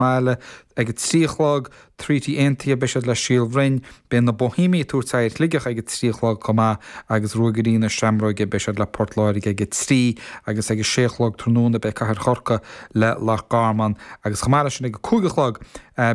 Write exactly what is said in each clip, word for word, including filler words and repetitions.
mbaile ag a trí a chlog, Treaty Aontaithe, beidh siad le Síol Bhroin, beidh na Boihéamaigh ag tabhairt aghaidh ar Shligeach ag a trí a chlog chomh maith agus Ruagairí na Seamróige, beidh siad le Port Láirge ag a trí agus ag a sé a chlog tráthnóna beidh Cathair Chorcaí le Loch Garman agus chomh maith leis sin ag a cúig a chlog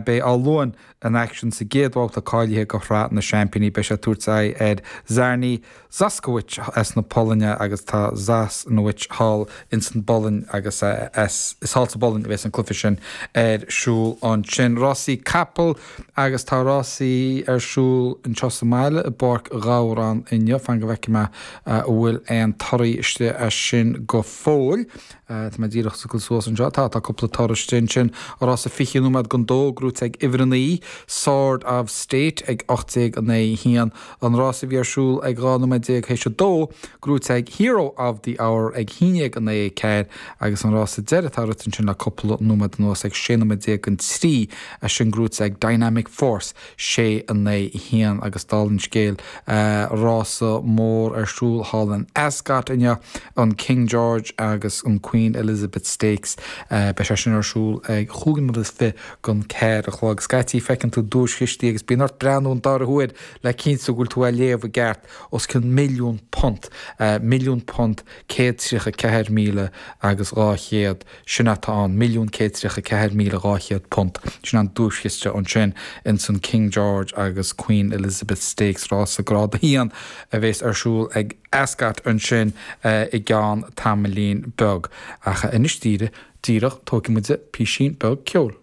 beidh Áth Luain in aicsean sa gcéad bhabhta cáilithe do Shraith na Seaimpíní. Beidh sé ag tabhairt aghaidh ar Czarni Zaskowice as na Polainne agus tá Zasnowicz thall ins an bPolainn agus is thall sa bPolainn a bheas an cluiche sin ar siúl ansin. Rásaí capall agus tá rásaí ar siúl anseo sa mbaile i bPáirc Ghabhráin inniu. Fan go bhfeicfidh mé an bhfuil aon torthaí istigh as sin go fóill. Tá mé díreach ag dul suas anseo. Tá, tá cúpla toradh istigh ansin. Rása fiche nóiméad don dó, gnóite ag uimhir a naoi, Sword of State ag ocht déag a naoi haon. An rása a bhí ar siúl ag dhá nóiméad déag théis a dó, gnóite ag Hero of the Hour ag haon déag a naoi ceathair agus an rása deiridh atá rite ansin le cúpla nóiméad anuas ag sé nóiméad déag don trí, é sin gnóite ag Dynamic Force sé a naoi haon agus dála an scéil rása mór ar siúl thall in Ascot inniu, an King George agus an Queen Elizabeth Stakes. Beidh sé sin ar siúl ag chúig nóiméad is fiche don ceathair a chlog. Scaití feiceann tú duaischistí agus bíonn ort breathnú an dara huair le cinntiú go bhfuil tú á léamh i gceart, os cionn milliún punt, milliún punt céad tríocha ceathair míle agus dhá chéad, sin atá ann, milliún céad tríocha ceathair míle dhá chéad punt, sin an duaischiste ansin ins an King George agus Queen Elizabeth Stakes, rása grád a haon a bheas ar siúl ag Ascot ansin i gceann tamaillín beag. Ach anois díreach, tógfaidh muid písín beag ceoil.